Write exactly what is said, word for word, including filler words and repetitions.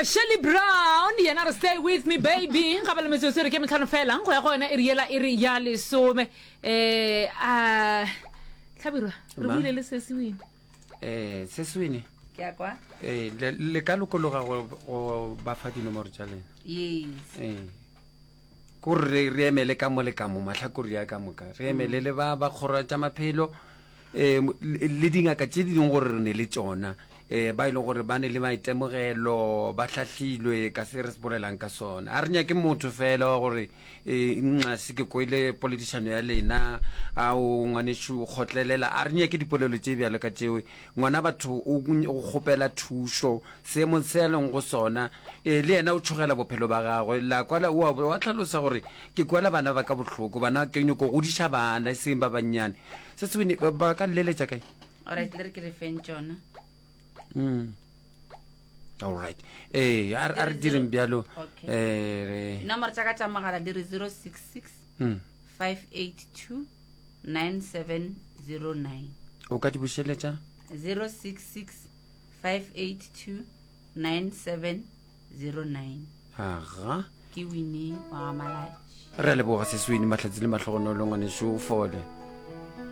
Shelly Brown yena re stay with me baby ga ba le metsotso e re ke metlhano fela go ya go yona e re yela e re ya lesome um a tlhabirwa re Ma. buile le sesiwene um se sewene ke a kwa ee le le ka lokologa go go ba fa dinomoro tša lena yes ee kore re re emele ka mo le ka mo mahlakore ya ka moka re emele le ba ba kgoro tša maphelo um le dingaka tše di leng gore re ne le tšona um ba e leng gore ba ne le maitemogelo ba hlahlilwe ka se re se bolelang ka sona a re nyake motho fela wa gore um nxa se ke kwele poledišano ya lena ao ngwanešu o kgotlelela a re nyake dipolelo tše bjalo ka tšeo ngwana batho o o kgopela thušo seemong se a leng go sona um le yena o tšhogela bophelo ba gagwe la kwala o a wa tlhalosa gore ke kwela bana ba ka bohloko bana ke nyako godiša bana e seng ba bannyane se sewene ba ba ka lleletša kae alright le re ke re feng tšona Mm. Alright. Ee, a re a re direng bjalo. Okay. Eh, re nomoro tša ka tša mogala di re zero six six Mm. five eight two nine seven zero nine O ka di bušeletša? zero six six five eight two nine seven zero nine Aga. ke winnie wa ga malatši Re a leboga Seswini mahlatsi le mahlogonolo ngwanešu o fole.